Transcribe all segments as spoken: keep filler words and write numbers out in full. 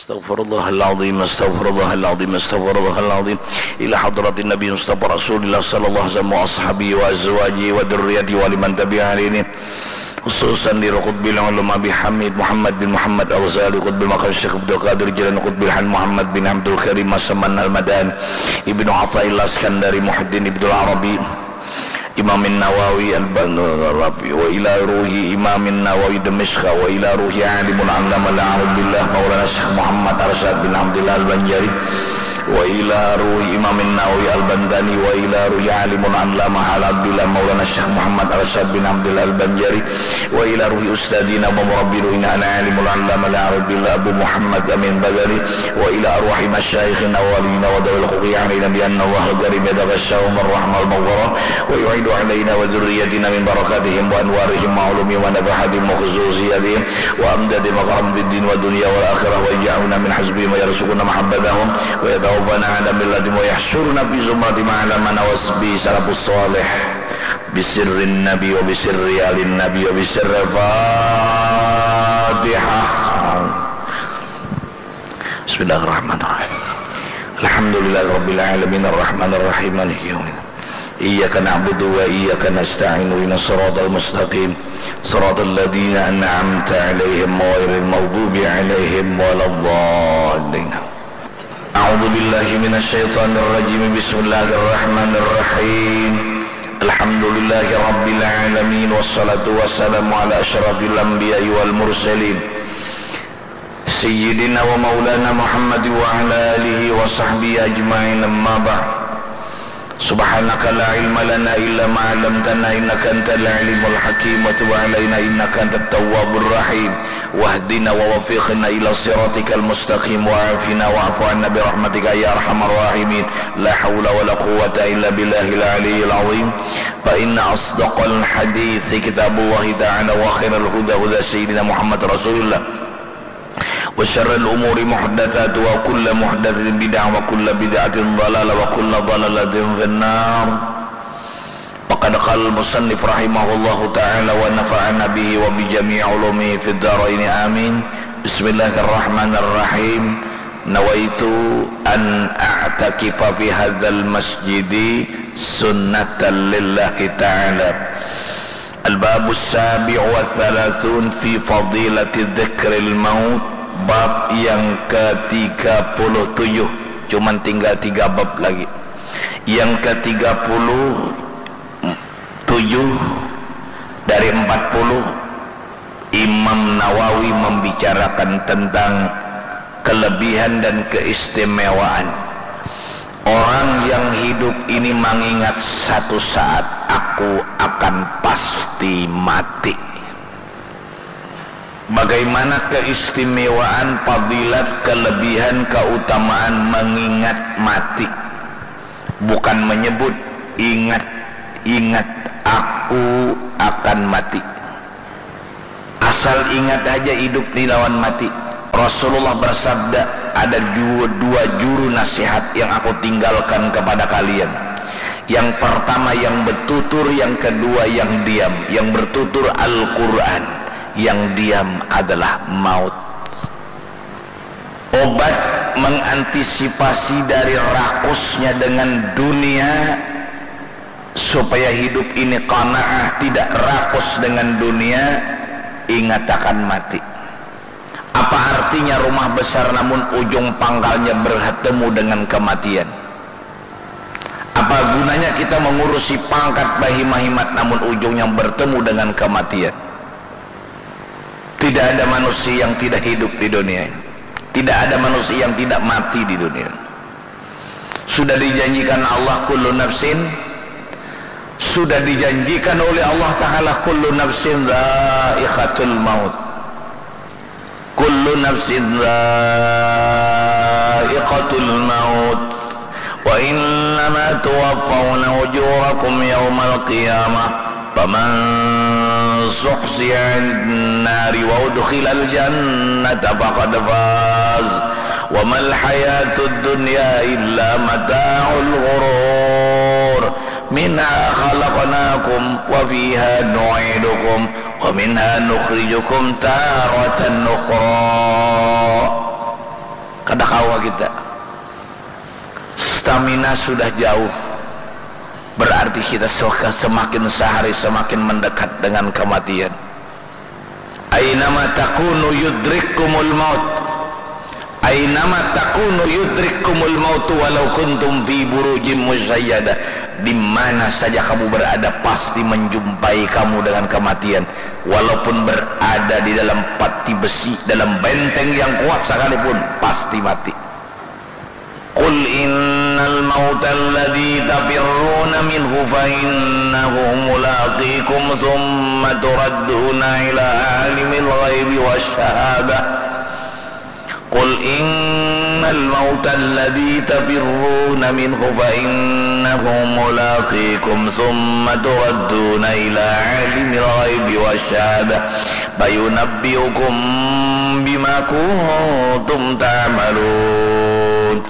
Astaghfirullahaladzim, astaghfirullahaladzim, astaghfirullahaladzim. Ila hadratin Nabi Mustafa Rasulillah sallallahu alaihi wasallam wa ashabihi wa azwajihi wa dzurriyyatihi wa liman tabi'ahum bi ihsan. Khususan li Qutbil Ulama Abi Hamid Muhammad bin Muhammad Al-Ghazali, Qutbil Maqam Syekh Abdul Qadir Jailani, Qutbil Hal Muhammad bin Abdul Karim As-Saman Al-Madani, Ibnu Athaillah Iskandari, Muhyiddin Ibnul Arabi, Imamin Nawawi Al-Rafi, wa ila ruhi Imamin Nawawi Dimashq, wa ila ruhi Alimul Allamah Al-Arif Billah Maulana Syekh Muhammad Arsyad bin Abdillah Al-Banjari, wa ila ruhi Imamin Nawawi Al-Bantani, wa ila ruhi Alimul Allamah Al-Abdillah Maulana Syekh Muhammad Arsyad bin Abdillah Al-Banjari, wa ila ruhi Ustadzina wa Murabbi Ruhina Al-Alimul Allamah Al-Arif Billah Abu Muhammad Amin Badali, wa ila arwahi masyayikhina wa waliyina wa dawil huquqi alaina bi anna Allahal Karim yataghashahum ar-rahmal maghfirah, wa yu'idu alaina wa dzurriyyatina min barakatihim wa anwarihim wa ulumihim wa nafahatihim wa khususiyatihim wa amdadihim wa karam fid din wa dunya wal akhirah, wa yaj'alna min hizbihim wa yarzuqna mahabbatahum wa yatawaffana ala millatihim wa yahsyurna fi zumratihim ala man wasbi salafus salih bi sirrin nabi wa bi sirri alin nabi wa bi sirri Fatihah. Bismillahirrahmanirrahim. Alhamdulillahirabbil alamin, arrahmanirrahim, maliki yaumiddin. Iyyaka na'budu wa iyyaka nasta'in, ihdinas siratal mustaqim, siratal ladzina an'amta 'alaihim ghairil maghdubi 'alaihim waladdallin. A'udzu billahi minasy syaithanir rajim. Bismillahirrahmanirrahim. Alhamdulillahi rabbil alamin, wassalatu wassalamu ala asyrafil anbiya'i wal mursalin, sayyidina wa maulana Muhammad wa ala alihi wa sahbihi ajma'in, amma ba'd. Subhanaka la ilma lana illa ma 'allamtana innaka antal alimul hakim, wa tub alaina innaka antat tawwabur rahim, wahdina wa waffiqna ila siratikal mustaqim, wa afina wa'fu anna bi rahmatika ya arhamar rahimin, la haula wa la quwwata illa billahil aliyyil azim. Fa inna asdaqal hadithi kitabullahi ta'ala, wa khairal huda huda sayyidina Muhammad Rasulillah, wa syarril umuri muhdatsatuha, wa kullu muhdatsatin bid'ah, wa kullu bid'atin dhalalah, wa kullu dhalalatin finnar. Wa qad qala al-musannif rahimahullahu ta'ala wa nafa'ana bihi wa bi jami'i ulumihi fid dharaini, amin. Bismillahirrahmanirrahim. Nawaitu an a'takifa fi hadzal masjidi sunnatan lillahi ta'ala. Al-babus sabi'u wa thalathun fi fadilati dzikril maut. Bab yang ketiga puluh tujuh. Cuman tinggal tiga bab lagi. Yang ketiga puluh tujuh dari empat puluh, Imam Nawawi membicarakan tentang kelebihan dan keistimewaan orang yang hidup ini mengingat satu saat aku akan pasti mati. Bagaimana keistimewaan, fadilat, kelebihan, keutamaan mengingat mati? Bukan menyebut, ingat, ingat, aku akan mati. Asal ingat haja hidup ni lawan mati. Rasulullah bersabda, ada ju-, dua juru nasihat yang aku tinggalkan kepada kalian. Yang pertama yang bertutur, yang kedua yang diam. Yang bertutur Al-Quran, yang diam adalah maut. Obat mengantisipasi dari rakusnya dengan dunia, supaya hidup ini qanaah, tidak rakus dengan dunia, ingat akan mati. Apa artinya rumah besar namun ujung pangkalnya bertemu dengan kematian? Apa gunanya kita mengurusi pangkat bahimat-himat namun ujungnya bertemu dengan kematian? Tidak ada manusia yang tidak hidup di dunia ini. Tidak ada manusia yang tidak mati di dunia ini. Sudah dijanjikan Allah, kullu nafsin, sudah dijanjikan oleh Allah Ta'ala, kullu nafsin dzaiqatul maut. Kullu nafsin dzaiqatul maut. Wa innama tuwaffawna ujurakum yaumal qiyamah. Faman zuhziha 'anin nari wa udkhilal jannata faqad faz. Wa mal hayatud dunya illa mata'ul ghurur. Minha khalaqnakum wa fiha nu'idukum wa minha nukhrijukum taratan ukhra. Kada kawa kita. Stamina sudah jauh. Berarti kita semakin sehari semakin mendekat dengan kematian. Ainama takunu yudrikkumul maut. Ainama takunu yudrikkumul maut walau kuntum fi burujim musyayyada. Di mana saja kamu berada, pasti menjumpai kamu dengan kematian. Walaupun berada di dalam pati besi, dalam benteng yang kuat sekalipun, pasti mati. Qul innal mautal ladzi tafirruna minhu fa innahu mulaqikum tsumma turadduna ila alimil ghaibi wasyahadah. Qul innal mautal ladzi tafirruna minhu fa innahu mulaqikum tsumma turadduna ila alimil ghaibi wasyahadah fayunabbiukum bima kuntum ta'malun.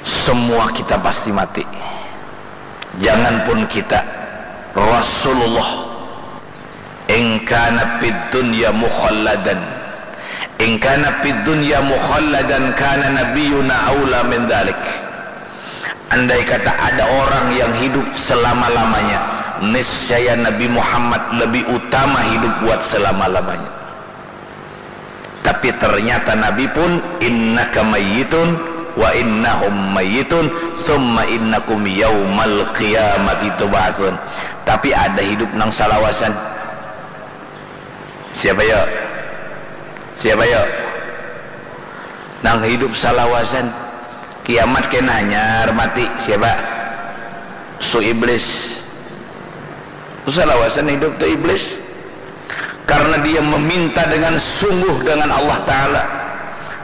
Semua kita pasti mati. Janganpun kita, Rasulullah, "In kana fid dunya mukhalladan, in kana fid dunya mukhalladan kana nabiyuna aula min dzalik." Andai kata ada orang yang hidup selama-lamanya, niscaya Nabi Muhammad lebih utama hidup buat selama-lamanya. Tapi ternyata Nabi pun, "Innaka mayyitun wa innahum mayyitun, tsumma innakum yaumal qiyamati tub'atsun." Tapi ada hidup nang salawasan. Siapa yo? Siapa yo? Nang hidup salawasan. Kiamat kena hanyar mati. Siapa? Su iblis. Tu salawasan hidup tu iblis. Karena dia meminta dengan sungguh dengan Allah Ta'ala,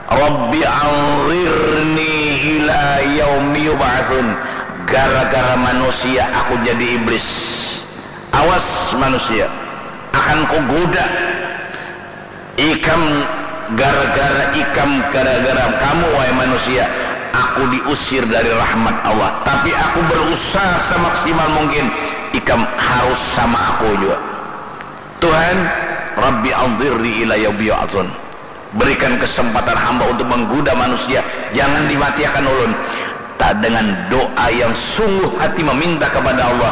"Rabbi anzirni ila yaumi yub'atsun." Gara-gara manusia aku jadi iblis. Awas manusia, akan kugoda ikam, gara-gara ikam, gara-gara kamu, wahai manusia, aku diusir dari rahmat Allah. Tapi aku berusaha semaksimal mungkin, ikam harus sama aku juga. Tuhan, Rabbi anzirni ila yaumi yub'atsun. Berikan kesempatan hamba untuk menggoda manusia, jangan dimatiakan ulun. Ta-, dengan doa yang sungguh hati meminta kepada Allah.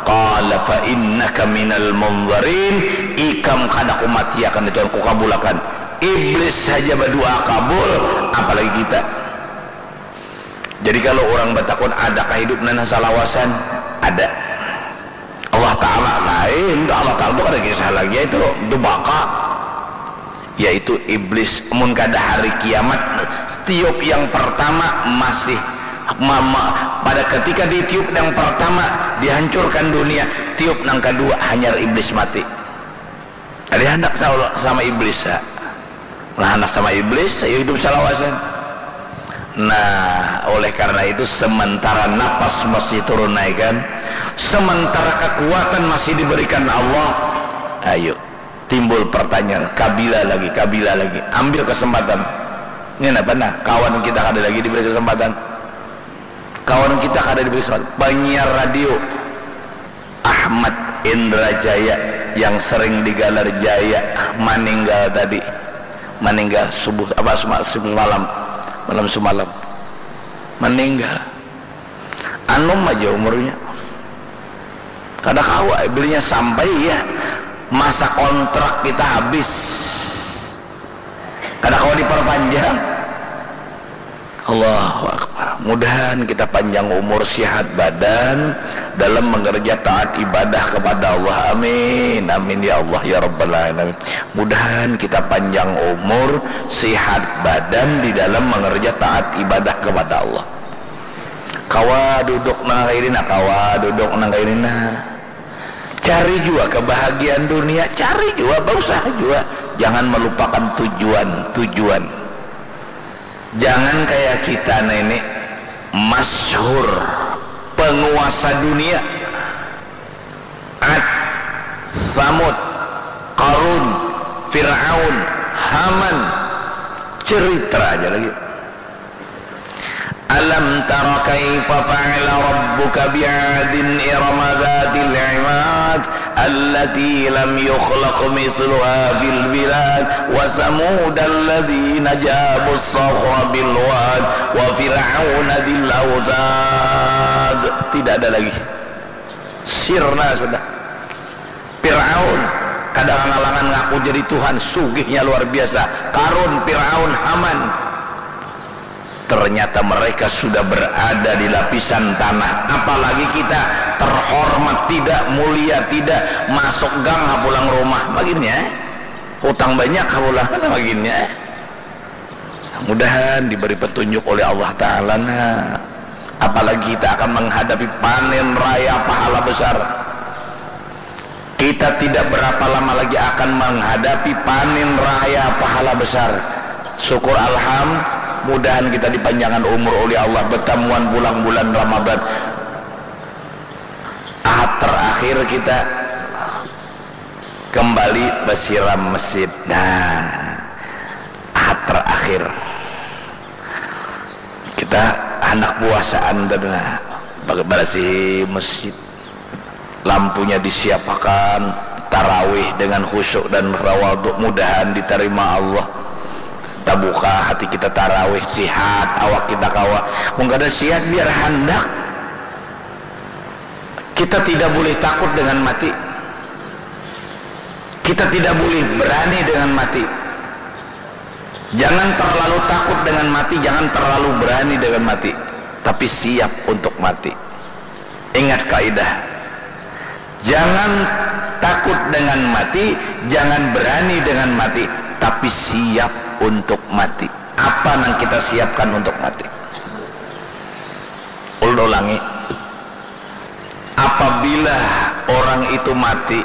Qala fa innaka minal munzarin, ikam kada kumatiakan, itu kukabulakan. Iblis saja berdoa kabul, apalagi kita. Jadi kalau orang batakun, adakah hidup nang salawasan? Ada. Allah Ta'ala lain, Allah Ta'ala tu kada kisah lagi, itu, itu baka. Yaitu iblis, mun kada hari kiamat, tiup yang pertama masih ma-, ma-, pada ketika ditiup yang pertama, dihancurkan dunia, tiup nang kedua, hanyar iblis mati. Ada handak sa-, sama iblis, ha. Nah, handak sama iblis, ya hidup salawasan. Nah, oleh karena itu, sementara napas masih turun naikan, sementara kekuatan masih diberikan Allah, ayo, timbul pertanyaan, kabila lagi, kabila lagi, ambil kesempatan. Ini apa, nah, kawan kita kada lagi diberi kesempatan. Kawan kita kada diberi kesempatan. Penyiar radio Ahmad Indra Jaya yang sering digalar Jaya maninggal tadi. Maninggal subuh, apa, sema-, semalam, malam semalam. Maninggal. Anum aja umurnya. Kada kawa, belinya sampai, ya, masa kontrak kita habis. Kada kawa diperpanjang. Allahu Akbar. Mudahan kita panjang umur, sihat badan dalam mengerja taat ibadah kepada Allah. Amin. Amin ya Allah ya Rabbal Alamin. Mudahan kita panjang umur, sihat badan di dalam mengerja taat ibadah kepada Allah. Kawa duduk nang kaini nah, kawa duduk nang kaini nah. Cari jua kebahagiaan dunia, cari jua, bausaha jua. Jangan melupakan tujuan, tujuan. Jangan kayak kita nah ini, masyhur, penguasa dunia. Ad, Samud, Qarun, Fir'aun, Haman. Cerita aja lagi. Alam tara kaifa fa'ala rabbuka bi'adin irama dzatil imad allati lam yukhlaq mitsluha fil bilad wa tsamudal ladzina jabus shakhra bil wad wa fir'auna dzil autad. Tidak ada lagi. Sirna sudah. Fir'aun kada ngalangan ngaku jadi Tuhan, sugihnya luar biasa. Karun, Fir'aun, Haman. Ternyata mereka sudah berada di lapisan tanah. Apalagi kita, terhormat tidak, mulia tidak, masuk gang ha pulang rumah. Begini ya. Hutang banyak ha pulang, begini ya. Mudahan diberi petunjuk oleh Allah Ta'ala, nah. Apalagi kita akan menghadapi panen raya pahala besar. Kita tidak berapa lama lagi akan menghadapi panen raya pahala besar. Syukur alham, mudahan kita dipanjangkan umur oleh Allah, bertamuan pulang bulan Ramadan. Ahad terakhir kita kembali basiram masjid. Nah, Ahad terakhir. Kita handak puasaan tadi, nah, barasih masjid. Lampunya disiapakan, tarawih dengan khusyuk dan tawadhu, mudahan ditarima Allah. Tabuka hati kita tarawih, sihat awak kita kawa. Mun kada sihat, biar handak. Kita tidak boleh takut dengan mati. Kita tidak boleh berani dengan mati. Jangan terlalu takut dengan mati, jangan terlalu berani dengan mati. Tapi siap untuk mati. Ingat kaidah. Jangan takut dengan mati, jangan berani dengan mati, tapi siap untuk mati. Apa nang kita siapkan untuk mati? Ulun ulangi. Apabila orang itu mati,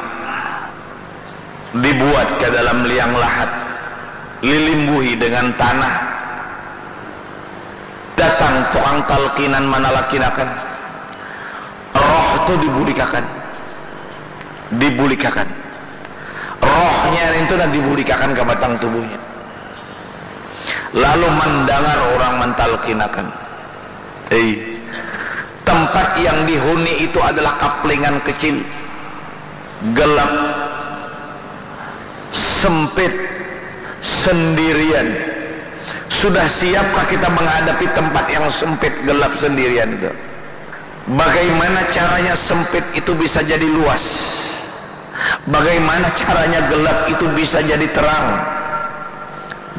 dibuat ke dalam liang lahat, lilimbuhi dengan tanah, datang tukang talkinan manalakinakan, roh tu dibulikakan, dibulikakan. Rohnya itu nah dibulikakan ke batang tubuhnya. Lalu mendengar orang mentalkinakan. Hei, tempat yang dihuni itu adalah kaplingan kecil, gelap, sempit, sendirian. Sudah siapkah kita menghadapi tempat yang sempit, gelap, sendirian itu? Bagaimana caranya sempit itu bisa jadi luas? Bagaimana caranya gelap itu bisa jadi terang?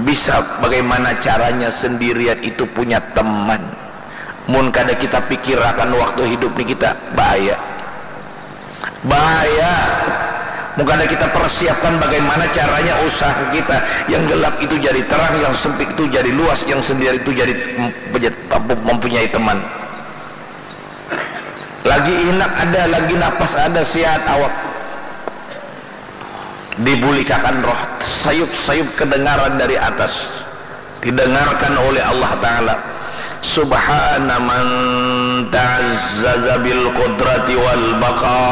Bisa. Bagaimana caranya sendirian itu punya teman? Mun kada kita pikirakan waktu hidup ni kita, bahaya. Bahaya. Mun kada kita persiapkan bagaimana caranya usaha kita, yang gelap itu jadi terang, yang sempit itu jadi luas, yang sendirian itu jadi mem-, mempunyai teman. Lagi inak ada, lagi napas ada, sihat awak. Dibulikakan roh, sayup-sayup kedengaran dari atas. Didengarkan oleh Allah Ta'ala. Subhana man ta'azzaza bil qudrati wal baqa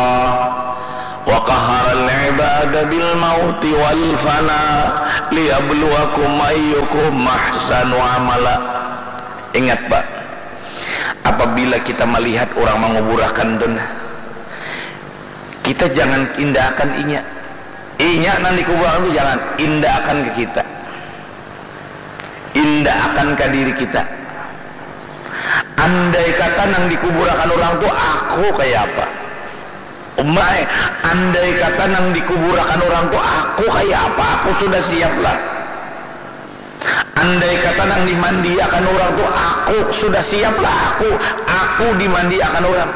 wa qaharal ibada bil mauti wal fana liyabluwakum ayyukum ahsanu amala. Ingat, Pak, apabila kita melihat orang manguburakan tu nah, kita jangan indaakan inya. Inya nang dikuburakan tu jangan, indaakan ke kita. Indaakan ka diri kita. Andai kata nang dikuburakan orang tu aku kaya apa? Umai, andai kata nang dikuburakan orang tu aku kaya apa? Aku sudah siap lah. Andai kata nang dimandiakan orang tu aku, sudah siap lah aku, aku dimandiakan orang.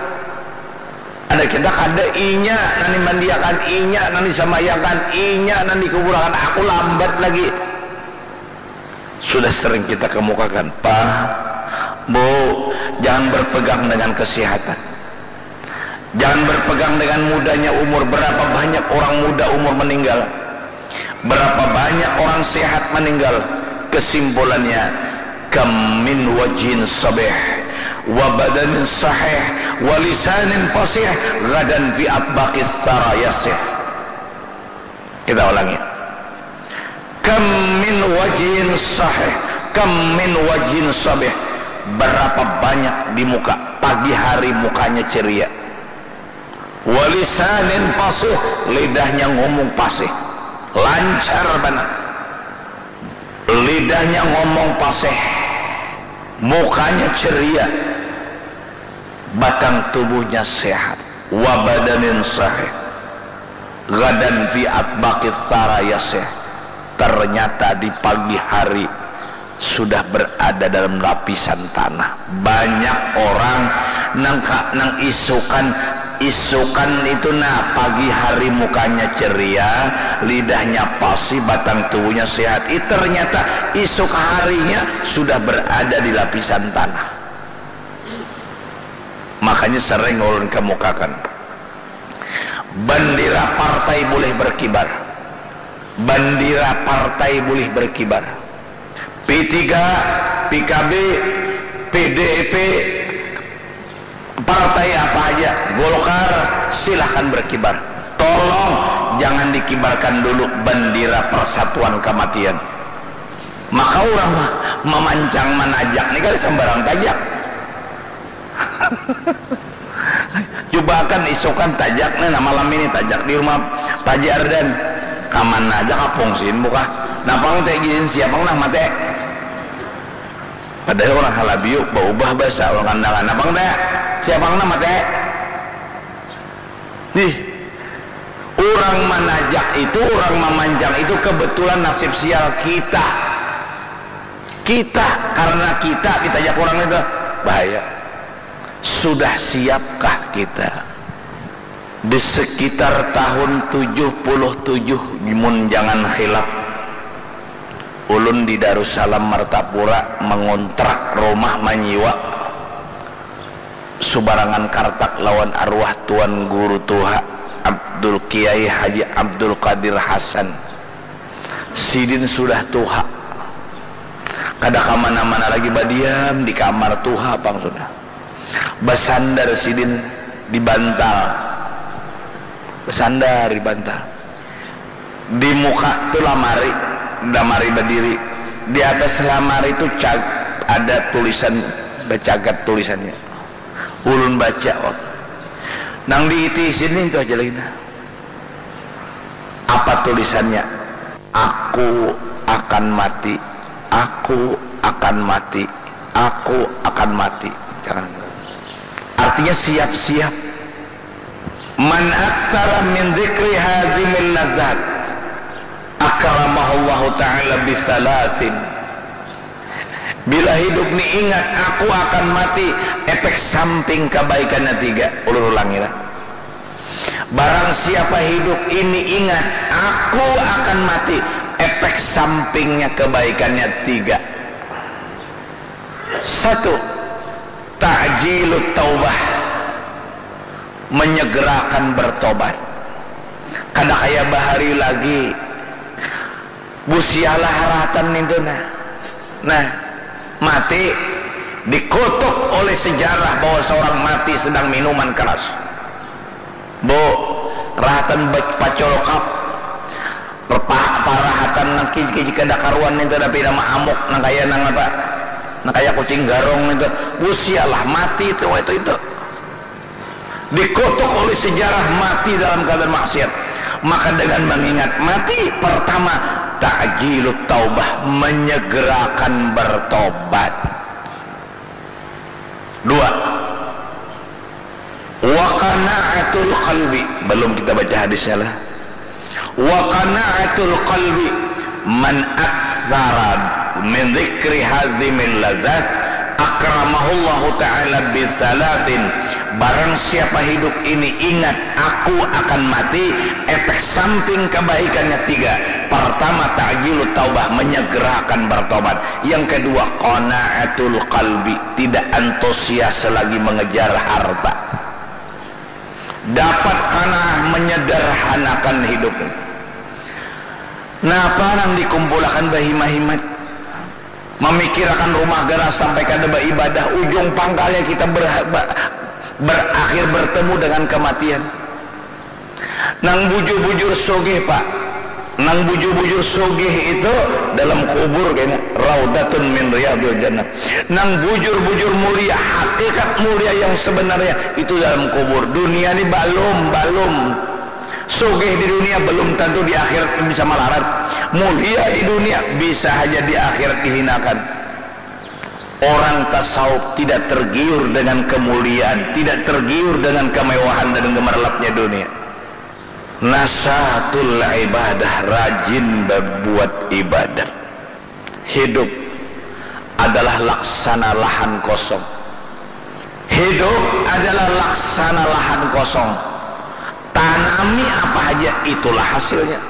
Andai kita kada, inya nang dimandiakan, inya nang disamayakan, inya nang dikuburakan, aku lambat lagi. Sudah sering kita kemukakan, Pak, Bu, jangan berpegang dengan kesehatan. Jangan berpegang dengan mudanya umur. Berapa banyak orang muda umur meninggal? Berapa banyak orang sehat meninggal? Kesimpulannya, kam min wajhin sabih wa badanin sahih wa lisanin fasih gadan fi atbaqis sarayasih. Kita ulangi. Kam min wajhin sahih, kam min wajhin sabih. Berapa banyak di muka, pagi hari mukanya ceria. Walisanin fasih, lidahnya ngomong fasih, lancar banar. Lidahnya ngomong fasih, mukanya ceria, batang tubuhnya sehat. Wa badanin sahih, ghadan fi atbaqis saraya sih. Ternyata di pagi hari sudah berada dalam lapisan tanah. Banyak orang nang ka, nang isukan, isukan itu, nah, pagi hari mukanya ceria, lidahnya fasih, batang tubuhnya sehat. Ih, ternyata isuk harinya sudah berada di lapisan tanah. Makanya sering ulun kemukakan, bandera partai boleh berkibar, bandera partai boleh berkibar. P tiga, P K B, P D I P, partai apa aja, Golkar, silahkan berkibar. Tolong jangan dikibarkan dulu bandera persatuan kematian. Maka orang memancang manajak ni kada sembarang tajak. Cubakan isukan tajak nih, nah, malam ini tajak di rumah Pak Haji Ardan. Kamana aja kapungsin muka. Napang teh gin siapang nah mate. Padahal orang Halabiu baubah bahasa orang Kandangan. Napang teh siapang nah mate. Ih, orang manajak itu, orang mamanjang itu kebetulan nasib sial kita. Kita, karena kita ditajak orang itu bahaya. Sudah siapkah kita? Di sekitar tahun tujuh puluh tujuh, mun jangan khilaf, ulun di Darussalam Martapura mengontrak rumah manyiwa subarangan kartak lawan arwah Tuan Guru Tuha Abdul Kiai Haji Abdul Qadir Hasan. Sidin sudah tuha, kada kamana-mana lagi, badiam di kamar, tuha pang sudah. Basandar sidin di bantal, basandar di bantal. Di muka tu lamari, lamari badiri. Di atas lamari tu cag-, ada tulisan, bacagat tulisannya. Ulun baca, wak. Nang diiti sidin tu aja lagi nah. Apa tulisannya? "Aku akan mati, aku akan mati, aku akan mati." Jangan. Artinya siap-siap. "Man aktsara min dzikri hadzimil ladzat, akramahullahu ta'ala bisalasin." Bila hidup ni ingat, "Aku akan mati," efek samping kebaikannya tiga. Ulun ulangi lah. Barang siapa hidup ini ingat, "Aku akan mati," efek sampingnya kebaikannya tiga. Satu, ta'jilut taubah, menyegerakan bertobat. Kada kaya bahari lagi, busialah haratan nintu nah. Nah, mati, dikutuk oleh sejarah bahwa seorang mati sedang minuman keras. Bu, rahatan bac-, pacolokap, repa-, parahatan nang kiji-kiji kada karuan nintu, tapi nama amuk nang kaya nang apa, nang kaya kucing garong nintu. Busialah mati itu, itu, itu. Dikutuk oleh sejarah mati dalam keadaan maksiat. Maka dengan mengingat mati, pertama, ta'jilut taubah, menyegerakan bertobat. Dua, wa qana'atul qalbi. Belum kita baca hadisnya lah. Wa qana'atul qalbi, "Man aktsara min dzikri hadzimil ladzat, akramahullahu ta'ala bisalasin." Barang siapa hidup ini ingat, "Aku akan mati," efek samping kebaikannya tiga. Pertama, ta'jilut taubah, menyegerakan bertobat. Yang kedua, qana'atul qalbi, tidak antusias lagi mengejar harta. Dapat qanaah menyederhanakan hidup. Napa nang dikumpulakan bahimat-himat? Mamikirakan rumah ganas sampai kada baibadah, ujung pangkalnya kita ber-, ba-, berakhir bertemu dengan kematian. Nang bujur-bujur sugih, Pak, Nang bujur-bujur sugih itu dalam kubur kayaknya, raudhatun min riyadhil jannah. Nang bujur-bujur mulia, hakikat mulia yang sebenarnya itu dalam kubur. Dunia ini balum, balum. Sugih di dunia belum tentu di akhirat bisa malarat. Mulia di dunia bisa haja di akhirat dihinakan. Orang tasawuf tidak tergiur dengan kemuliaan, tidak tergiur dengan kemewahan dan gemerlapnya dunia. Nasyatul ibadah, rajin berbuat ibadah. Hidup adalah laksana lahan kosong. Hidup adalah laksana lahan kosong. Tanami apa haja, itulah hasilnya.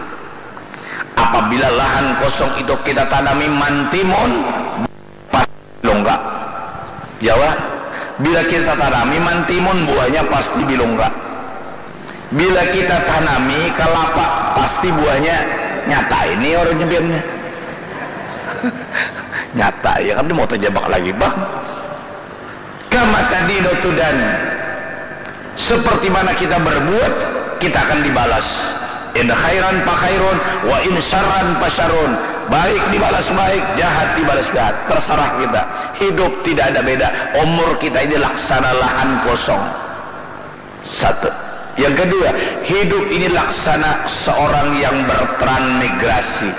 Apabila lahan kosong itu kita tanami mantimun, bilungka. Jawa, bila kita tanami mantimun, buahnya pasti bilungka. Bila kita tanami kalapa, pasti buahnya nyata. Ini orang nyebirnya. Nyata ya kan, mau terjebak lagi, Bang. Kama tadinu tudan. Seperti mana kita berbuat, kita akan dibalas. In khairan fa khairun, wa in syarran fa syarrun. Baik dibalas baik, jahat dibalas jahat. Terserah kita. Hidup tidak ada beda. Umur kita ini laksana lahan kosong. Satu. Yang kedua, hidup ini laksana seorang yang bertransmigrasi.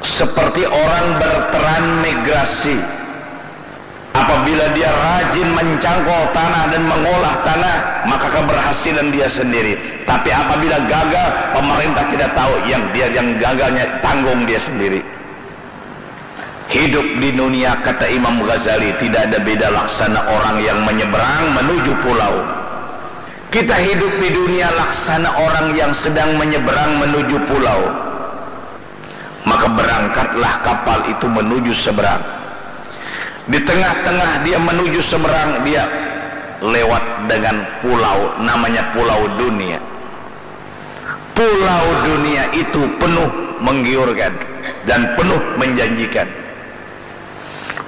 Seperti orang bertransmigrasi. Apabila dia rajin mencangkul tanah dan mengolah tanah, maka keberhasilan dia sendiri. Tapi apabila gagal, pemerintah tidak tahu, yang dia, yang gagalnya tanggung dia sendiri. Hidup di dunia, kata Imam Ghazali, tidak ada beda laksana orang yang menyeberang menuju pulau. Kita hidup di dunia laksana orang yang sedang menyeberang menuju pulau. Maka berangkatlah kapal itu menuju seberang. Di tengah-tengah dia menuju seberang, dia lewat dengan pulau, namanya Pulau Dunia. Pulau Dunia itu penuh menggiurkan dan penuh menjanjikan.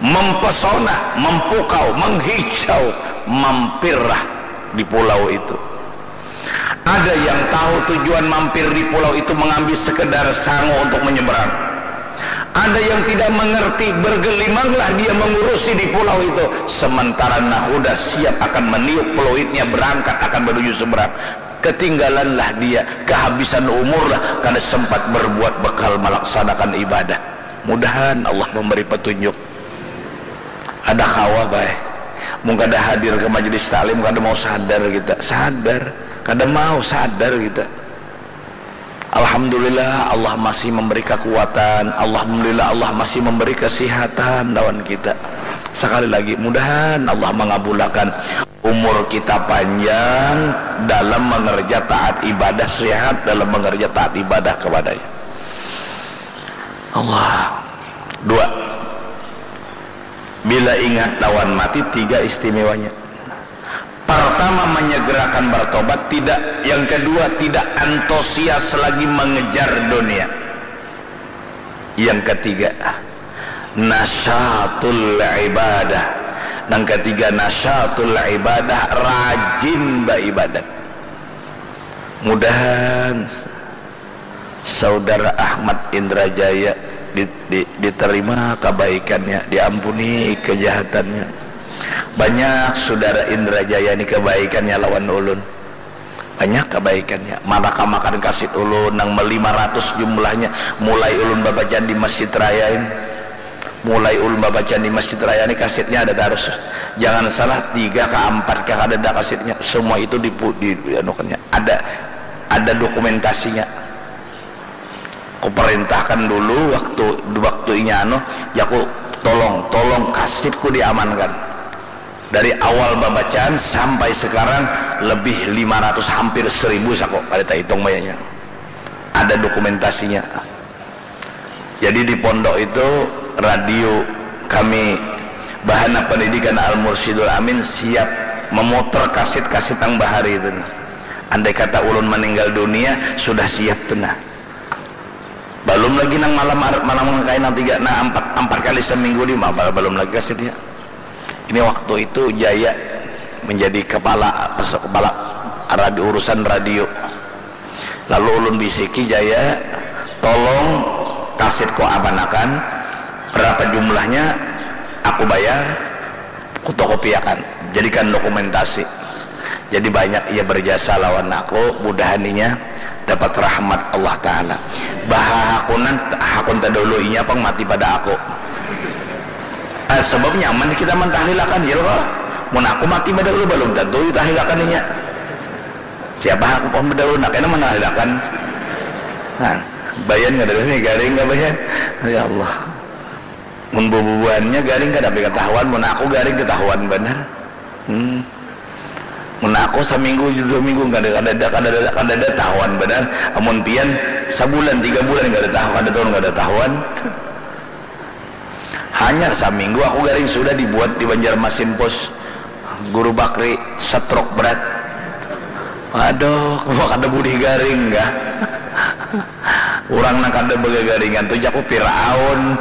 Mempesona, mempukau, menghijau, mampirlah di pulau itu. Ada yang tahu tujuan mampir di pulau itu mengambil sekedar sangu untuk menyeberang. Ada yang tidak mengerti, bergelimanglah dia mengurusi di pulau itu. Sementara nahuda siap akan meniup peluitnya, berangkat akan menuju seberang. Ketinggalanlah dia, kehabisan umurlah, kada sempat berbuat bekal melaksanakan ibadah. Mudahan Allah memberi petunjuk. Ada kawa bae. Mun kada hadir ke majelis taklim, kada mau sadar kita. Sadar. Kada mau sadar kita. Alhamdulillah, Allah masih memberi kekuatan. Alhamdulillah, Allah masih memberi kesihatan lawan kita. Sekali lagi, mudahan Allah mengabulakan umur kita panjang dalam mengerja taat ibadah, sehat dalam mengerja taat ibadah kepada-Nya. Allah. Dua. Bila ingat lawan mati, tiga istimewanya. Pertama, menyegerakan bertobat, tidak. Yang kedua, tidak antusias lagi mengejar dunia. Yang ketiga, nasyatul ibadah. Nang ketiga, nasyatul ibadah, rajin baibadat. Mudahan Saudara Ahmad Indra Jaya di, di, diterima kebaikannya, diampuni kejahatannya. Banyak saudara Indra Jaya ni kebaikannya lawan ulun. Banyak kebaikannya. Marakamakan kasit ulun nang lima ratus jumlahnya, mulai ulun babacaan di Masjid Raya ini. Mulai ulun babacaan di Masjid Raya ni, kasitnya ada tarus. Jangan salah, tiga ka ampat ka kadada kasitnya. Semua itu dipu-, di, di anukannya. Ada, ada dokumentasinya. Kuperintahkan dulu waktu, waktu inya anu, jaku, "Tolong, tolong kasitku diamankan." Dari awal babacaan sampai sekarang lebih lima ratus, hampir seribu saku, kada tahitung banyaknya. Ada dokumentasinya. Jadi di pondok itu radio kami, Bahana Pendidikan Al-Mursyidul Amin, siap memutar kasit-kasit nang bahari itu. Andai kata ulun meninggal dunia, sudah siap tu nah. Balum lagi nang malam ar-, malam kain nang tiga, nah, ampat, ampat kali seminggu ni, ma-, balum lagi kasitnya. Ini waktu itu Jaya menjadi kepala, kepala radio, urusan radio. Lalu ulun bisiki Jaya, Tolong kasitku amanakan, berapa jumlahnya aku bayar, kutokopiakan, jadikan dokumentasi. Jadi banyak ia berjasa lawan aku, mudahan inya dapat rahmat Allah Ta'ala. Baha hakunan, hakun tadahulu inya pang mati pada aku. Ah, sebab nyaman kita mentahlilakan, ya kok. Mun aku mati badahulu, balum tentu ditahlilakan inya. Siapa aku pun bedau nak kena menahlilakan. Nah, bayan kada ada nih garing nggak bayan? Ya Allah. Mun bubuhannya garing kada tapi ketahuan, mun aku garing ketahuan benar. Hmm. Mun aku seminggu, dua minggu kada kada ada kada ada kada ada tahuan benar. Amun pian sebulan tiga bulan kada tahu kada tahu kada tahuan. Hanyar saminggu aku garing sudah dibuat di Banjarmasin Pos. Guru Bakri stroke berat. Aduh, aku kada bulih garing kah? Urang nang kada bagagaringan tu jaku Piraun.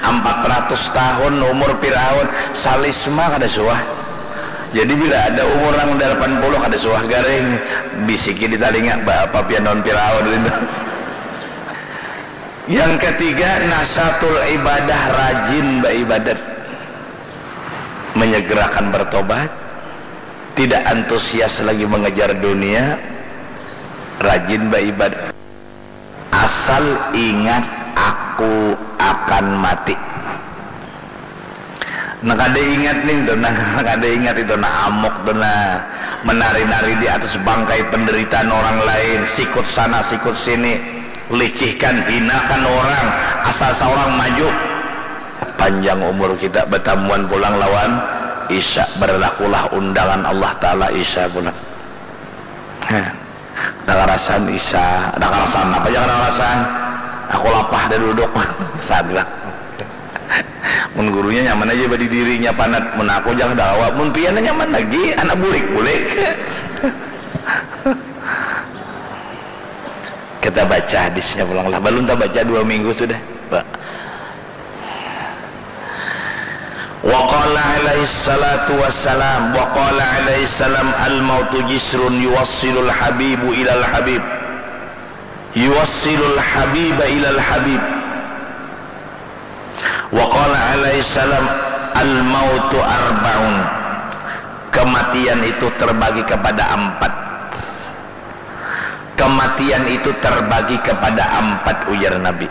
Ampat ratus tahun umur Piraun, salisma kada suah. Jadi bila ada umur nang dalapan puluh kada suah garing, bisiki di talinga, "Baapa pian lawan Piraun?" Itu. Yang ketiga, nasatul ibadah, rajin baibadat, menyegerakan bertobat, tidak antusias lagi mengejar dunia, rajin baibadat. Asal ingat, aku akan mati. Nah, kada ingat nih tuh, nah, kada ingat itu, nah, amuk tuh, nah, menari-nari di atas bangkai penderitaan orang lain, sikut sana, sikut sini, licihkan, hinakan orang, asal seorang maju. Panjang umur kita, batamuan pulang lawan Isya, berlakulah undangan Allah Ta'ala Isya pulang. Heh. Ada karasan Isya, ada karasan apa aja kada karasan. Aku lapah dah duduk. Sadrak. Mun gurunya nyaman aja badi dirinya panat, mun aku jangan dawa, mun pian nyaman lagi, anak bulik-bulik. Kita baca hadisnya pulang lah, belum tak baca dua minggu sudah. Pak. Wa qala alaihi salatu wassalam, wa qala alaihi salam, "Al mautu jisrun yuwassilul habibu ilal habib, yuwassilul habiba ilal habib." Wa qala alaihi salam, "Al mautu arbaun." Kematian itu terbagi kepada empat. Kematian itu terbagi kepada empat, ujar Nabi.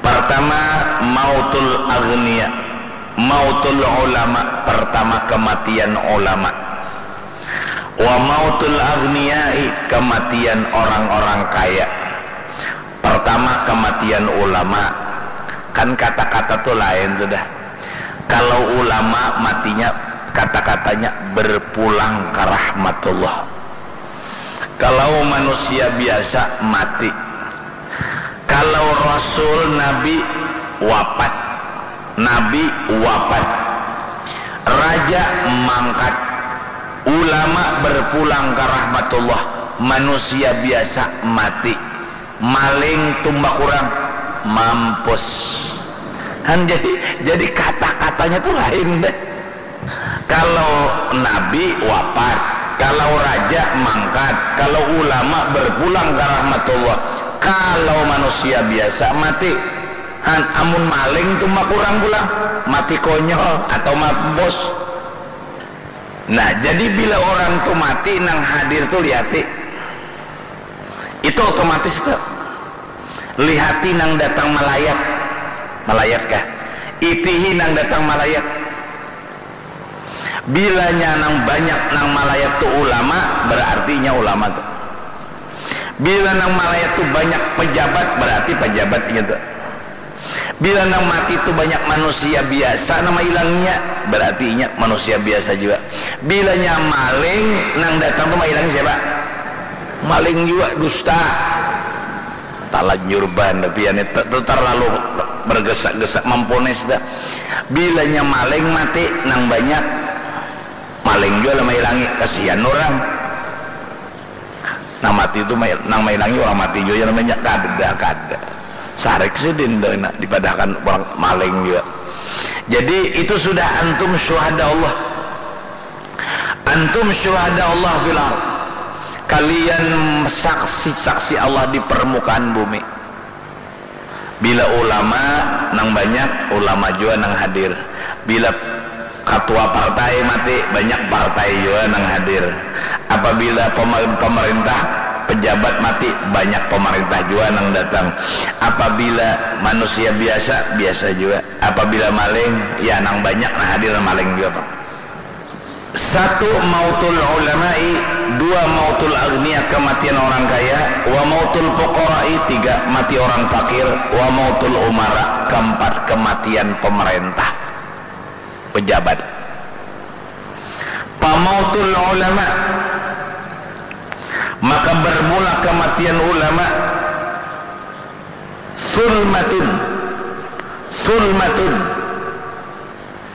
Pertama, mautul agniya, mautul ulama, pertama kematian ulama. Wa mautul agniyai, kematian orang-orang kaya. Pertama kematian ulama. Kan kata-kata tu lain sudah. Kalau ulama matinya, kata-katanya berpulang ke rahmatullah. Kalau manusia biasa mati. Kalau rasul, nabi wafat. Nabi wafat. Raja mangkat. Ulama berpulang ke rahmatullah. Manusia biasa mati. Maling tumbak urang, mampus. Han, jadi jadi kata-katanya tu lain deh. Kalau nabi wafat, kalau raja mangkat, kalau ulama berpulang ke rahmatullah, kalau manusia biasa mati. Han, amun maling tumbak urang pulang, mati konyol atau mampus. Nah, jadi bila orang tu mati, nang hadir tu lihati. Itu otomatis tu. Lihati nang datang malayat. Malayat kah? Itihi nang datang malayat. Bilanya nang banyak nang malayat tu ulama, berarti inya ulama tu. Bila nang malayat tu banyak pejabat, berarti pejabat inya tu. Bila nang mati tu banyak manusia biasa nang mailangnya, berarti inya manusia biasa jua. Bilanya maling nang datang tu mailangi siapa? Maling jua, dusta. Talanjur banar pian itu, tu terlalu bergesa-gesa mamponis dah. Bilanya maling mati nang banyak, maling jua lah mailangi, kasihan urang. Nang mati tu mai-, nang mailangi urang mati jua jar namanya, kada, kada. Sarik sidin tu nak dipadahkan urang maling jua. Jadi itu sudah antum syuhada Allah. Antum syuhada Allah fil ard. Kalian saksi-saksi Allah di permukaan bumi. Bila ulama nang banyak, ulama jua nang hadir. Bila katua partai mati, banyak partai jua nang hadir. Apabila pema-, pemerintah, pejabat mati, banyak pemerintah jua nang datang. Apabila manusia biasa, biasa jua. Apabila maling, ya nang banyak nang hadir nang maling jua pang. Satu, mautul ulama'i, dua, mautul aghnia, kematian orang kaya, wa mautul fuqara'i, tiga, mati orang fakir, wa mautul umara, keempat, kematian pemerintah, pejabat. Pamautul ulama, maka bermula kematian ulama, sulmatun, sulmatun,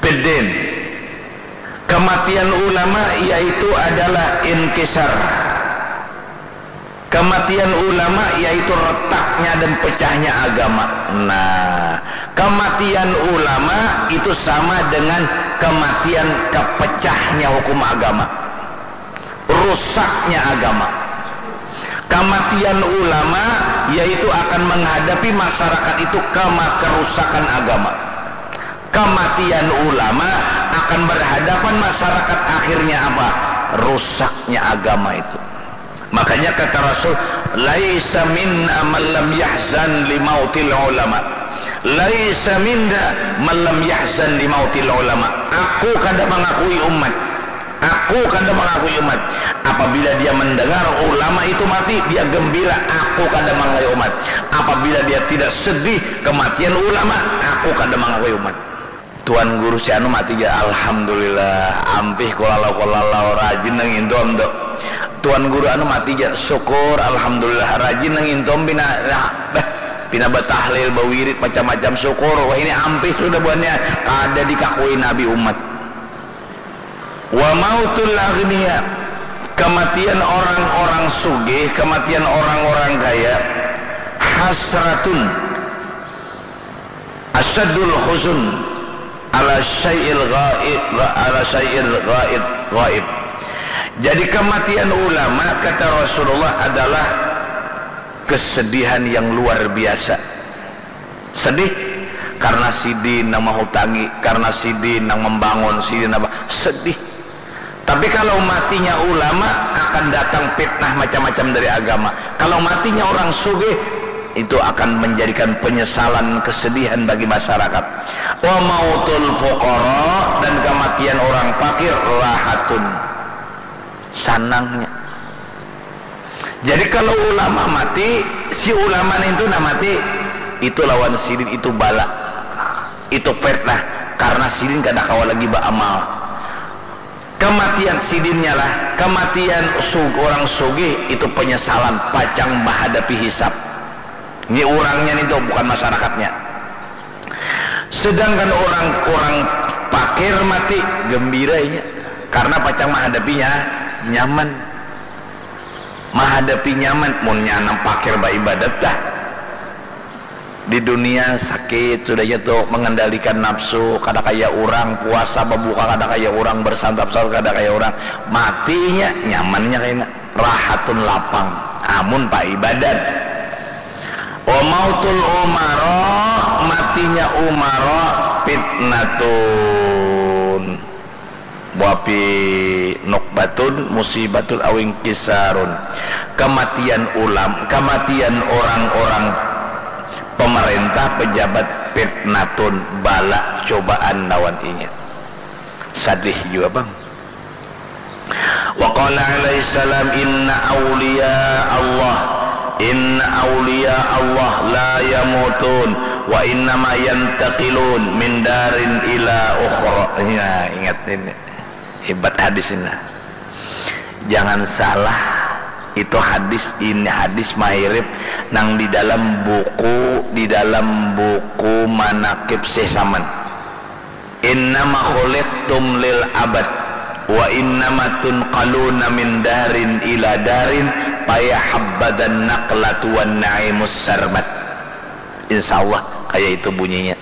Piddin. Kematian ulama yaitu adalah inkisar. Kematian ulama yaitu retaknya dan pecahnya agama. Nah, kematian ulama itu sama dengan kematian kepecahnya hukum agama. Rusaknya agama. Kematian ulama yaitu akan menghadapi masyarakat itu kema-, kerusakan agama. Kematian ulama akan berhadapan masyarakat, akhirnya apa? Rusaknya agama itu. Makanya kata Rasul, "Laisa minna man lam yahzan limautil ulama." "Laisa minna man lam yahzan limautil ulama." Aku kada mengakui umat. Aku kada mengakui umat. Apabila dia mendengar ulama itu mati, dia gembira. Aku kada mengakui umat. Apabila dia tidak sedih kematian ulama, aku kada mengakui umat. Tuan guru si anu mati ja, alhamdulillah, ampih kulalau-kulalau, rajin nang intom tu. Tuan guru anu mati ja, syukur, alhamdulillah, rajin nang intom pina, nah, bah, pina batahlil, bawirid, macam-macam, syukur, wahini ampih sudah buhannya, kada dikakui Nabi umat. Wa mautul aghnia, kematian orang-orang sugih, kematian orang-orang kaya, hasratun, asyadul huzun ala syai'il ghaib, ala syai'il ghaib, ghaib. Jadi kematian ulama, kata Rasulullah, adalah kesedihan yang luar biasa. Sedih karena sidin nang mahutangi, karena sidin nang membangun, sidin apa, sedih. Tapi kalau matinya ulama, akan datang fitnah macam-macam dari agama. Kalau matinya orang sugih, itu akan menjadikan penyesalan, kesedihan bagi masyarakat. Wa mautul fuqara, dan kematian orang fakir, rahatun, sanangnya. Jadi kalau ulama mati, si ulama nintu nah mati, itu lawan sidin itu bala, itu fitnah, karena sidin kada kawa lagi baamal. Kematian sidinnya lah, kematian sug-, orang sugih itu penyesalan, pacang menghadapi hisab. Ini urangnya nintu, bukan masyarakatnya. Sedangkan orang, orang fakir mati, gembira inya, karena pacang menghadapinya nyaman. Mahadapi nyaman, munnya nang fakir baibadat dah. Di dunia sakit, sudahnya tu mengendalikan nafsu, kada kaya urang, puasa babuka kada kaya urang, bersantap sahur kada kaya urang. Matinya, nyamannya kaina. Rahatun, lapang. Amun paibadat. Wa mautul umara, matinya umara, fitnatun. Wapi nukbatun musibatun awing kisarun. Kematian ulam, kematian orang-orang pemerintah, pejabat, fitnatun, bala, cobaan lawan inya. Sadih jua pang. Wa qala alaihi salam, "Inna awliya Allah, inna awliya Allah la yamutun, wa innama yantaqilun min darin ila ukhra." Ya, ingat ini. Hebat hadis ini. Jangan salah, itu hadis ini, hadis mahirip nang di dalam buku, di dalam buku Manaqib Syekh Saman. "Innama khuliqtum lil abad, wa innama tunqaluna min darin ila darin, fayahabbadan naqlatu wan na'imus sarmad." Insya Allah, kayak itu bunyinya.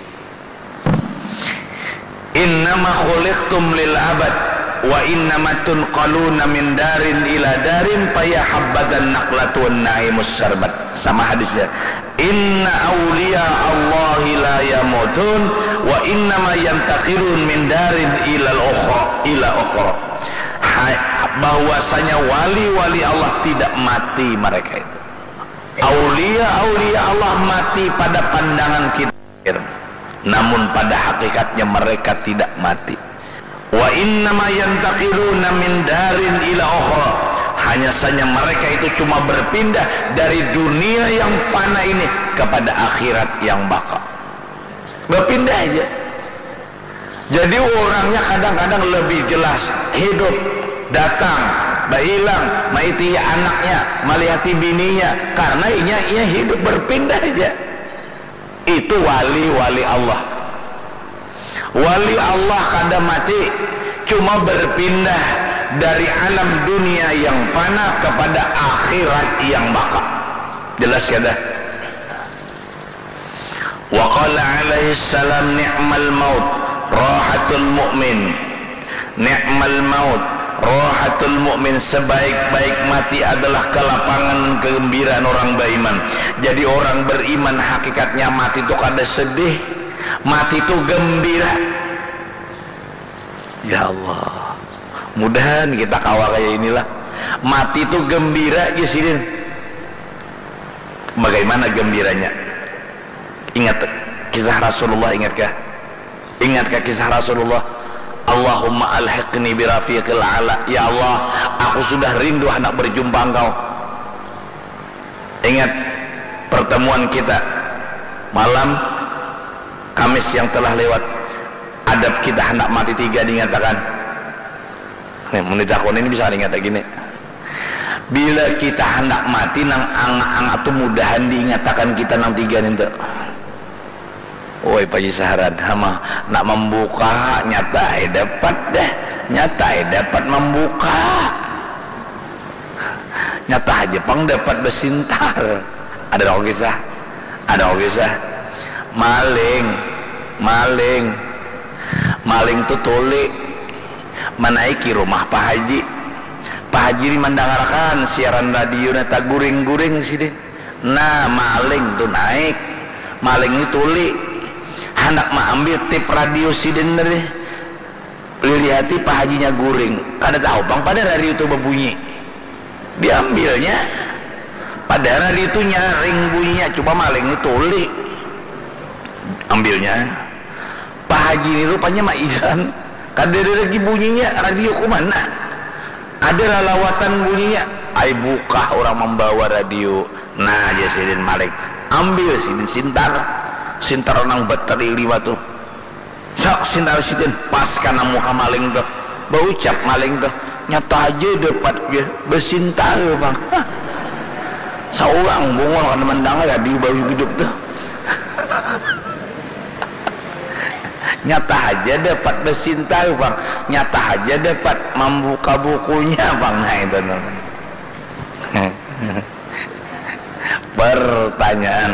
"Innama khuliqtum lil abad." Wa innama tunqaluna min darin ila darin, paya habbatan naqlatun naimus sarbat. Sama hadisnya. Inna awliya Allahi la yamutun, wa innama yantaqilun min darin ila ukhra, ila ukhra. Bahwasanya wali-wali Allah tidak mati mereka itu. Aulia-aulia Allah mati pada pandangan kita, namun pada hakikatnya mereka tidak mati. Wa innama yantaqiluna min darin ila ukhra. Hanya saja mereka itu cuma berpindah dari dunia yang fana ini kepada akhirat yang baqa. Berpindah aja. Jadi orangnya kadang-kadang lebih jelas hidup, datang, bailang, maiti anaknya, malihati bininya, karena inya inya hidup berpindah aja. Itu wali-wali Allah. Wali Allah kada mati, cuma berpindah dari alam dunia yang fana kepada akhirat yang baqa. Jelas kada? Wa qala alaihi salam, ni'mal maut rahatul mu'min. Ni'mal maut rahatul mu'min, sebaik-baik mati adalah kelapangan kegembiraan orang beriman. Jadi orang beriman hakikatnya mati tu kada sedih, mati tu gembira. Ya Allah, mudahan kita kawa kaya inilah. Mati tu gembira ja sidin. Bagaimana gembiranya? Ingat kisah Rasulullah, ingatkah? Ingatkah kisah Rasulullah? Allahumma alhiqni birafiqil ala. Ya Allah, aku sudah rindu hendak berjumpa engkau. Ingat pertemuan kita malam Kamis yang telah lewat. Adab kita hendak mati tiga dinyatakan. Nih, mun ditakuni ini bisa ingat lagi nih. Bila kita hendak mati, nang angak-angak tu mudahan diingatakan kita nang tiga nintu. Oi, Paji Saharan, hama, nak mambuka, nyata ai dapat dah, nyata ai dapat mambuka. Nyata haja pang dapat basintar. Ada kok kisah? Ada kok kisah? Maling, maling, maling tu tuli manaiki rumah Pak Haji. Pak Haji ni mandangarkan siaran radio, nah taguring-guring sidin. Nah, maling tu naik. Maling ni tuli. Handak maambil tip radio sidin tadi. Lilihati Pak Hajinya guring. Kada tahu pang pada radio tu babunyi. Diambilnya. Padahal radio tu nyaring bunyinya. Cuma maling ni tuli. Ambilnya. Pak Haji ni rupanya mairan. Kadada lagi bunyinya, radio ku mana? Ada lalawatan bunyinya. Ai bukah urang mambawa radio. Nah, jar sidin maling. Ambil sidin sintar. Sintar nang bateri lima tu. Sak sintar sidin, pas kana muha maling tu. Baucap maling tu, "Nyata haja dapat," jar. Basintar pang. Saurang bungul kada mandangar radio baru hidup tu. Nyata haja dapat basintar pang, nyata haja dapat mambuka bukunya pang. Nah, itu namanya. Pertanyaan.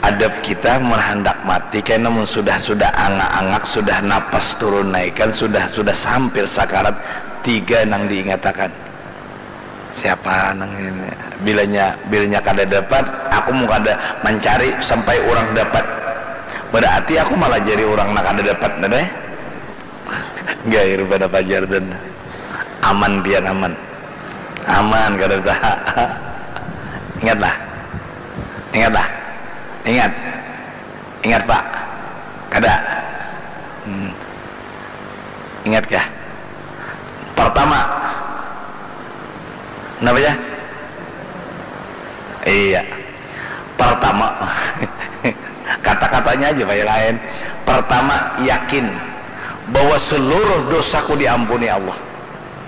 Adab kita mun handak mati kena, mun sudah, sudah angak-angak, sudah napas turun naikan, sudah, sudah hampir sakarat, tiga nang diingatakan. Siapa nang ini? Bilanya, bilanya kada dapat, aku mun kada mancari sampai urang dapat. Berarti aku malajari urang nang kada dapat, nah, deh. Gair pada pajar dan aman, pian aman. Aman, kada taha. Ingatlah. Ingatlah. Ingat. Ingat, Pak. Kada. Hmm. Ingat kah? Pertama. Kenapa ya? Iya. Pertama. Kata-katanya aja, Pak, yang lain. Pertama, yakin bahwa seluruh dosaku diampuni Allah.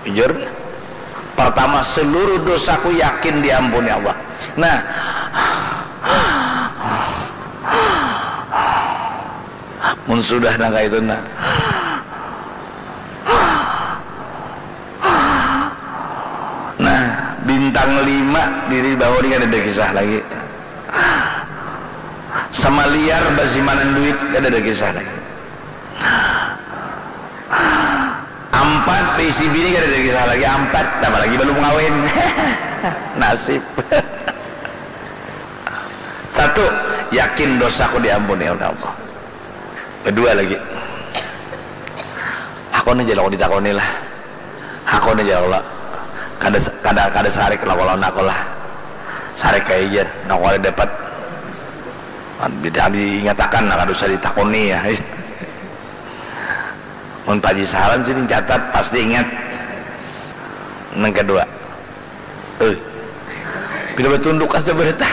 Jujur. Pertama, seluruh dosaku yakin diampuni Allah. Nah, mun sudah nang kaitu, nah. Nah, bintang lima diri bawah ni kada ada kisah lagi. Sama liar basimanan duit kada ada kisah lagi. Empat, baisi bini kada ada kisah lagi. Empat, tambah lagi balum kawin. Nasib. Satu, yakin dosaku diampuni oleh Allah. Kedua lagi, aku ni jar aku ditakoni lah. Aku ni jar aku lah. Kada, kada, kada sarik lah kalau aku lah. Sarik kaya jar, aku kada dapat. Bida diingatakan lah, kada usah ditakoni ya. Mun Pak Haji Saran sini catat, pasti ingat. Nang kedua, eh, pina batundukan sabarita.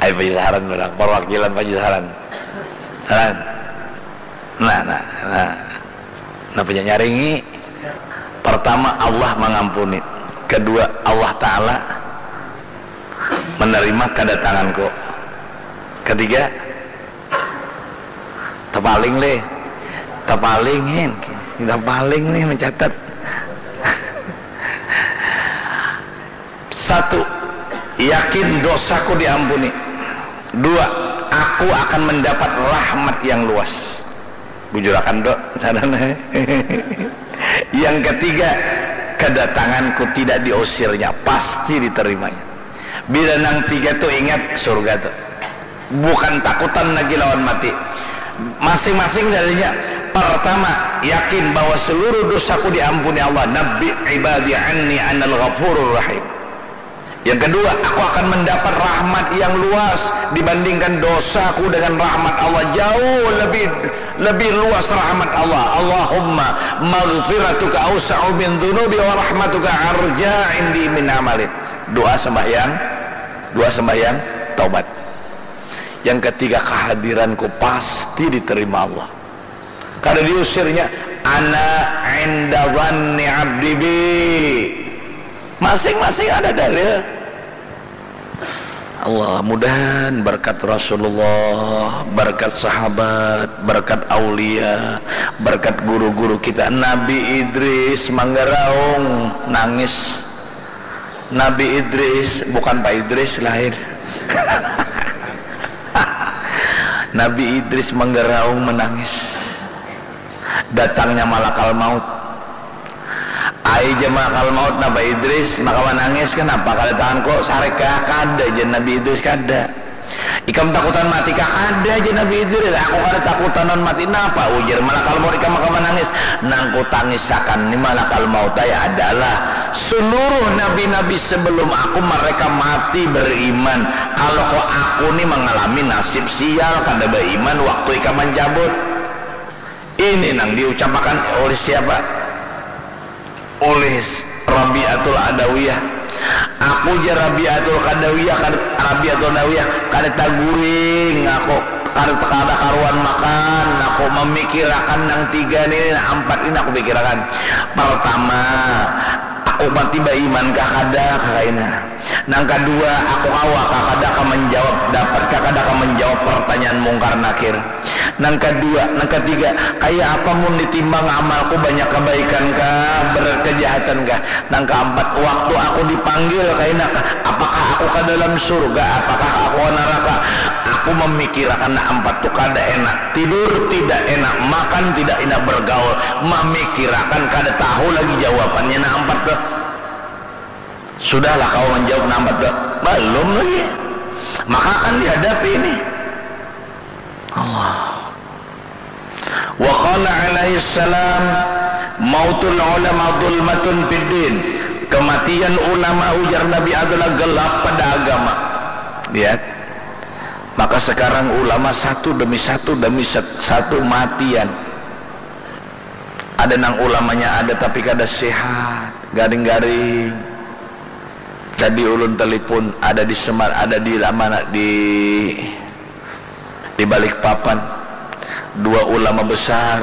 Ayo Pak Haji Saran, orang perwakilan Pak Haji Saran. Saran. Nah, nah, nah. Nah, punya nyaringi. Pertama, Allah mengampuni. Kedua, Allah Ta'ala menerima kedatanganku. Ketiga, tepaling leh, tepaling hin, tepaling nih mencatat. Satu, yakin dosaku diampuni. Dua, aku akan mendapat rahmat yang luas. Bujurakan tu, saran. Yang ketiga, kedatanganku tidak diusirnya, pasti diterimanya. Bila nang tiga tu ingat, surga tu. Bukan takutan lagi lawan mati. Masing-masing darinya, pertama, yakin bahwa seluruh dosaku diampuni Allah. Nabbi ibadi anni anal ghafurur rahim. Yang kedua, aku akan mendapat rahmat yang luas dibandingkan dosaku dengan rahmat Allah. Jauh lebih, lebih luas rahmat Allah. Allahumma maghfiratuka awsa'u min dzunubi wa rahmatuka arja indi min amali. Doa sembahyang, doa sembahyang taubat. Yang ketiga, kehadiranku pasti diterima Allah. Kada diusirnya, ana inda dhanni abdi bi. Masing-masing ada dalil. Allah, mudahan berkat Rasulullah, berkat sahabat, berkat aulia, berkat guru-guru kita. Nabi Idris manggaraung nangis. Nabi Idris, bukan Pak Idris lain. Nabi Idris manggaraung menangis. Datangnya malakal maut. Ai jar malakal maut, napa Idris maka manangis, kenapa kada tangan kok sarik kah? Kada jar Nabi Idris, kada. Ikam takutan mati kah? Kada jar Nabi Idris, aku kada takutan lawan mati. Napa ujar malakal maut ikam maka manangis? Nang kutangisakan ni malakal maut ai adalah seluruh nabi-nabi sebelum aku, mereka mati beriman. Kalau kok aku ni mengalami nasib sial, kada beriman waktu ikam mencabut. Ini nang diucapakan oleh siapa? Oleh Rabi'atul Adawiyah. Aku jar Rabi'atul Kadawiyah, kada, Rabi'atul Adawiyah, kada taguring aku, kada, kada karuan makan aku, mamikirakan nang tiga ni, nang ampat ini aku pikirakan. Pertama, aku mati baiman kah kada, kah kaina. Nang kadua, aku kawa kah kada kah manjawab, dapat kah kada kah manjawab pertanyaan Mungkar Nakir. Nang kadua, nang katiga, kaya apa mun ditimbang amalku, banyak kabaikan kah, berat kajahatan kah? Nang kaampat, waktu aku dipanggil kaina kah, apakah aku ka dalam surga, apakah aku ka naraka? Aku mamikirakan nang ampat tu kada enak. Tidur tidak enak, makan tidak enak, bergaul, mamikirakan, kada tahu lagi jawabannya nang ampat tu. Sudahlah kawa manjawab nang ampat tu? Balum lagi. Maka akan dihadapi ini. Allah. Wa qala alaihi salam, mautul ulama dhulmatun fid din. Kematian ulama, ujar Nabi, adalah gelap pada agama. Lihat. Maka sekarang ulama satu demi satu demi sat-, satu matian. Ada nang ulamanya ada tapi kada sehat, garing-garing. Tadi ulun telepon, ada di Semar, ada di mana, di, di Balikpapan. Dua ulama besar,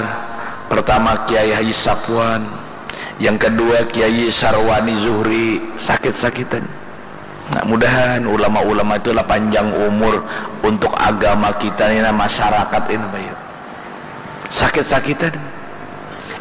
pertama Kiai Haji Sapwan, yang kedua Kiai Sarwani Zuhri, sakit-sakitan. Nah, mudahan ulama-ulama itu lah panjang umur untuk agama kita ni, nah, masyarakat ini, Bayu. Sakit-sakitan.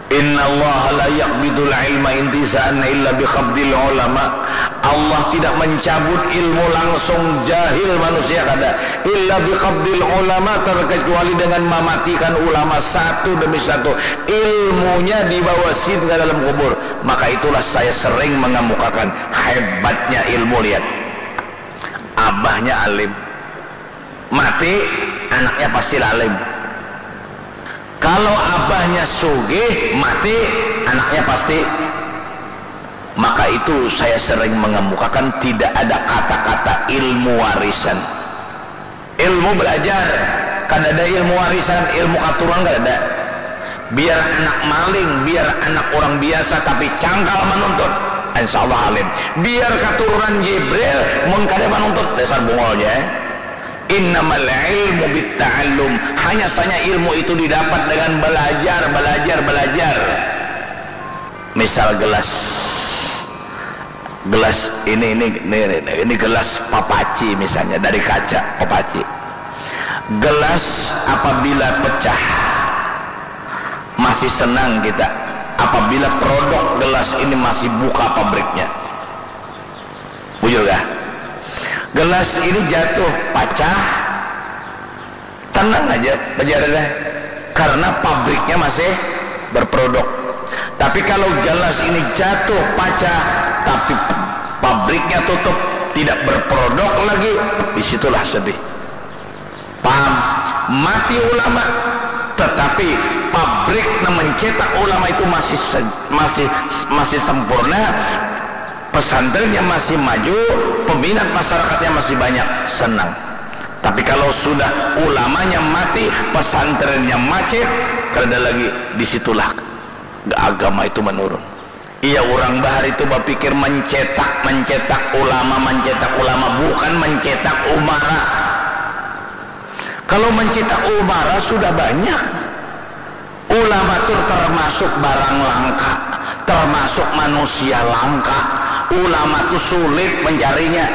Innallaha la yaqbidul ilma intiza'an illa biqabdil ulama. Allah tidak mencabut ilmu langsung jahil manusia, kada, illa biqabdil ulama, terkecuali dengan mematikan ulama satu demi satu, ilmunya dibawa sin ke dalam kubur. Maka itulah saya sering mengemukakan hebatnya ilmu. Lihat, abahnya alim, mati, anaknya pasti lalim. Kalau abahnya sugih, mati, anaknya pasti. Maka itu saya sering mengemukakan, tidak ada kata-kata ilmu warisan. Ilmu belajar, kada ada ilmu warisan, ilmu katurunan kada ada. Biar anak maling, biar anak orang biasa, tapi cangkal menuntut, insya Allah alim. Biar katurunan Jibril, mun kada menuntut, dasar bungol ja. Innamal ilmu bitta'allum. Hanya saja ilmu itu didapat dengan belajar, belajar, belajar. Misal gelas, gelas ini, ini, ini, ini, ini gelas papaci misalnya, dari kaca papaci. Gelas apabila pecah, masih senang kita apabila produk gelas ini masih buka pabriknya. Bujur kah? Gelas ini jatuh, pacah, tenang aja, bajar dah. Karena pabriknya masih berproduk. Tapi kalau gelas ini jatuh, pacah, tapi pabriknya tutup, tidak berproduk lagi, disitulah sedih. Paham? Mati ulama, tetapi pabrik yang mencetak ulama itu masih se-, masih, masih sempurna, pesantrennya masih maju, peminat masyarakatnya masih banyak, senang. Tapi kalau sudah ulamanya mati, pesantrennya macet, kada lagi, disitulah agama itu menurun. Iya, urang bahari tu bapikir mencetak, mencetak ulama, mencetak ulama, bukan mencetak umara. Kalau mencetak umara sudah banyak. Ulama tu termasuk barang langka, termasuk manusia langka. Ulama tu sulit mencarinya.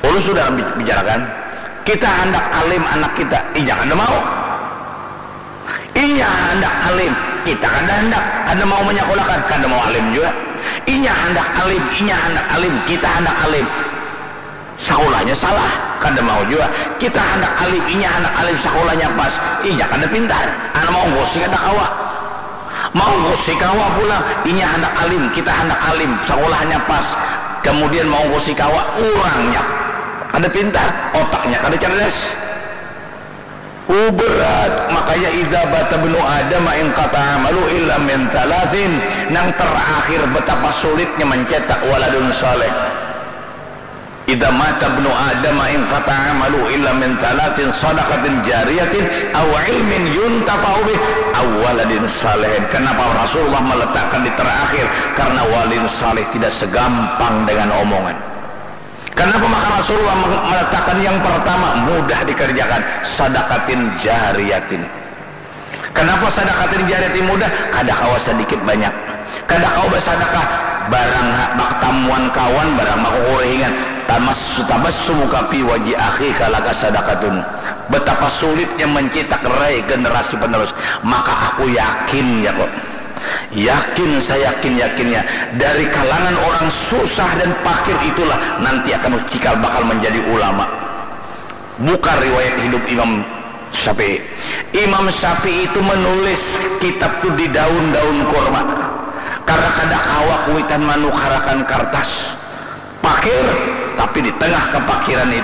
Ulun sudah bi-, bicarakan, kita handak alim anak kita, inya kada mau. Inya handak alim, kita kada handak, kada mau menyakulakan, kada mau alim jua. Inya handak alim, inya handak alim, kita handak alim. Sakulahnya salah, kada mau jua. Kita handak alim, inya handak alim, sakulahnya pas, inya kada pintar. Anak maunggusi kada kawa. Maunggusi kawa pulang, inya handak alim, kita handak alim, sakulahnya pas. Kemudian maunggusi kawa, urangnya kada pintar, otaknya kada cerdas. Uh, berat. Makanya, "Idza mata ibnu Adam inqata'a amaluhu illa min tsalatsin." Nang terakhir, betapa sulitnya mencetak waladun saleh. "Idza mata ibnu Adam inqata'a amaluhu illa min tsalatsin, shadaqatin jariyatin, aw ilmin yuntafa'u bih, aw waladin salihin." Kenapa Rasulullah meletakkan di terakhir? Karena waladin saleh tidak segampang dengan omongan. Kenapa maka Rasulullah meng-, meletakkan yang pertama? Mudah dikerjakan, sadaqatin jariyatin. Kenapa sadaqatin jariyatin mudah? Kada kawa sedikit banyak. Kada kawa basadakah, barang ha-, baktamuan kawan, barang bakukurihingan. Tamas-, tabassumuka fi wajhi akhika laka sadaqatun. Betapa sulitnya mencetak rai generasi penerus. Maka aku yakin, ya kok. Yakin, saya yakin-yakinnya, dari kalangan orang susah dan fakir itulah nanti akan cikal bakal menjadi ulama. Buka riwayat hidup Imam Syafi'i. Imam Syafi'i itu menulis kitab tu di daun-daun kurma. Karena kada kawa kuitan manukarakan kartas. Fakir, tapi di tengah kefakiran itu